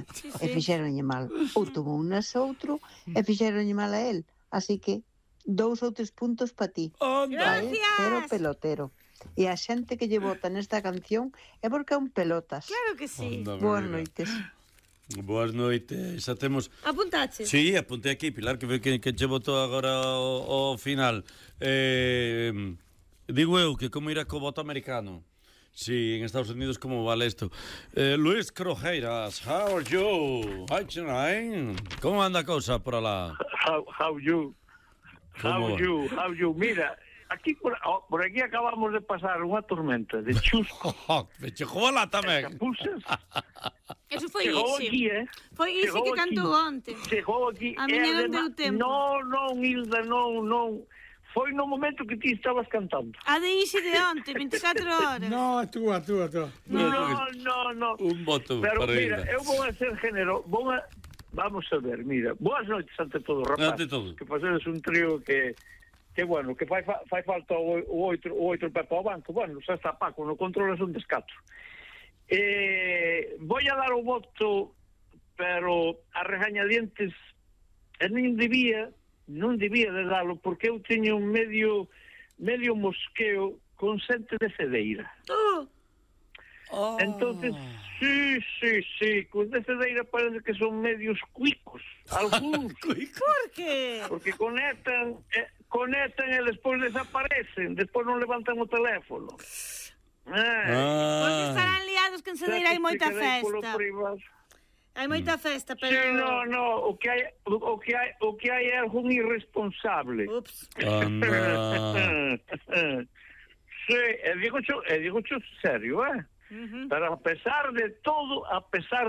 miña, e fixeronlle mal. Ou tomou unas outro, e fixeronlle mal a él. Así que 2 ou 3 puntos para ti. Gracias. Pero pelotero. E a xente que lle vota nesta canción é porque é un pelotas. Claro que sí. Boas noites. Boas noites, xa temos... Apuntache? Sí, apuntei aquí, Pilar, que che votou agora ao final. Digo eu que como irá co voto americano. Sí, en Estados Unidos como vale isto. Luis Crojeiras, how are you? Hi, tonight. Como anda a cousa por alá? How you? Mira, aquí por aquí acabamos de pasar unha tormenta de chusco. Me chegou lá tamén. Capuzas. Eso foi Chegou Isi. aquí, Foi Isi que cantou onte. Chegou aquí. A miña non deu tempo. Non, Hilda, non. Foi no momento que ti estabas cantando. A de Isi de onte, 24 horas. No, túa. No. Un voto pero para mira, Hilda. eu vou a ser género, vamos a ver, mira. Boas noites ante todo, rapaz. Ante todo. Que facedes un trío que bueno, que fai falta o outro Pepe ao banco. Bueno, xa está Paco, no control é un descato. Voy a dar o voto, pero a regañadientes non debía de dalo, porque eu teño un medio mosqueo con xente de Cedeira. Entonces, sí, cos de Cedeira parece que son medios cuicos, algúns. Por qué? Porque conectan e despois desaparecen, despois non levantan o teléfono. Porque estarán liados que en Cedeira hai moita festa. Hai moita festa, pero... Sí, no, o que hai é algún irresponsable. Ups. Sí, digo serio, Pero a pesar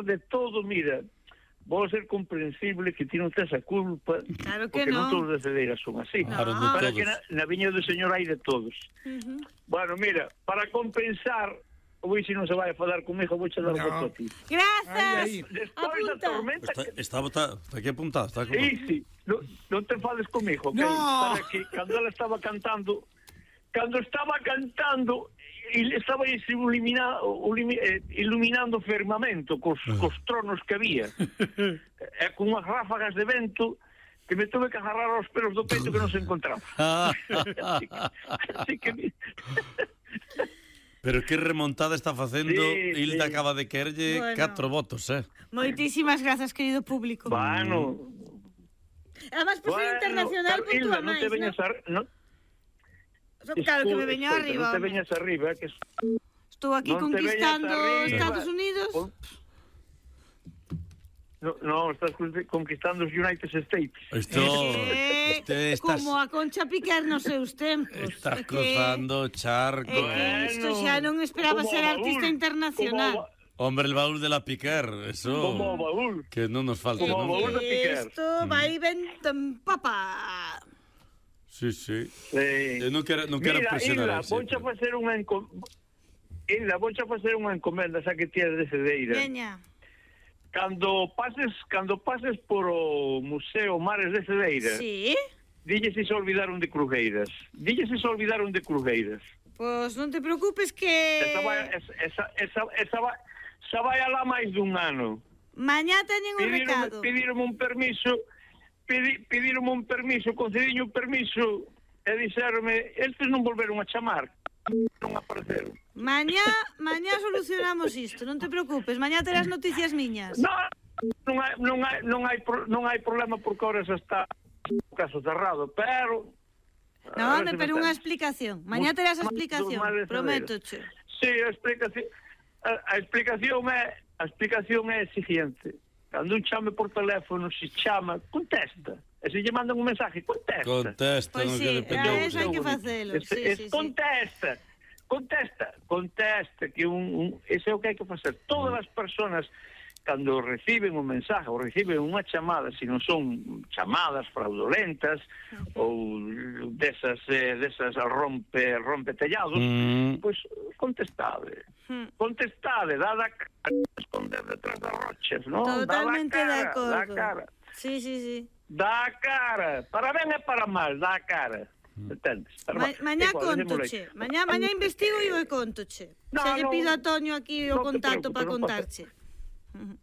de todo, mira, vou ser comprensible que ti non tes a culpa, Claro que porque non non. todos de Cedeira son así. Claro, non Para todos. que na viña do Señor hai de todos. Bueno, mira, para compensar, hoy si non se vai a fadar comigo, vou che dar voto a ti. Grazas. Despois da Apunta. tormenta... Está aquí apuntado, está como... Sí, non te fades comigo, ok? No. Para que cando ela estaba cantando, e estaba iluminando o firmamento cos tronos que había, e con unhas ráfagas de vento que me tuve que agarrar aos pelos do peito que non se encontraba. Así que Pero que remontada está facendo. Sí, Hilda sí. acaba de quererlle Bueno. 4 votos, Moitísimas grazas, querido público. Bueno, Además, por ser internacional, pero, Hilda, puntúa non máis, te veñas Claro que me veño escoita, arriba. non te veñas arriba, que Estou aquí non te conquistando veñas arriba. Estados Unidos. No, estás conquistando os United States. Isto estás, Como a Concha Piquer nos seus tempos. estás cruzando o charco. Isto xa non esperaba Como ser o artista baúl, internacional. Hombre, el baúl de la Piquer, eso. Como o baúl. Que non nos falte, Como o non? baúl de Piquer. Isto vai vento en papa. Sí. Sí. Eu non quero Mira, presionar. Hilda, vouche facer unha encomenda, xa que ti és de Cedeira. Veña. Cando pases por o Museo Mares de Cedeira, Sí? dille se olvidaron de Crujeiras. Pois non te preocupes que... Esa vai alá máis dun ano. Mañá teñen un recado. Pedironme un permiso, concediño un permiso e dixeronme, estes non volveron a chamar, non apareceron. Mañá solucionamos isto, non te preocupes. Mañá terás noticias miñas. Non hai problema porque ahora xa está o caso cerrado, pero... No, home, pero unha explicación. Mañá terás a explicación, prométoche. Sí, a explicación é a seguinte. Cando un chame por teléfono, se chama, contesta. E se lle mandan un mensaje, contesta. Contesta, Pois non sí, que depende. eso hai que facelo. Sí. Contesta, que ese é o que hai que facer. Todas as persoas cando reciben un mensaje ou reciben unha chamada, se non son chamadas fraudulentas ou desas rompe tellados, pois contestade, dada a cara, esconder detrás das rochas, non? Totalmente de acordo. Dá a cara. Sí. Dá a cara, para ben e para mal, dá a cara. Entendes? Mañá contoche. Mañá investigo e eu contoche. Se lle pido a Toño aquí o contacto para contarche.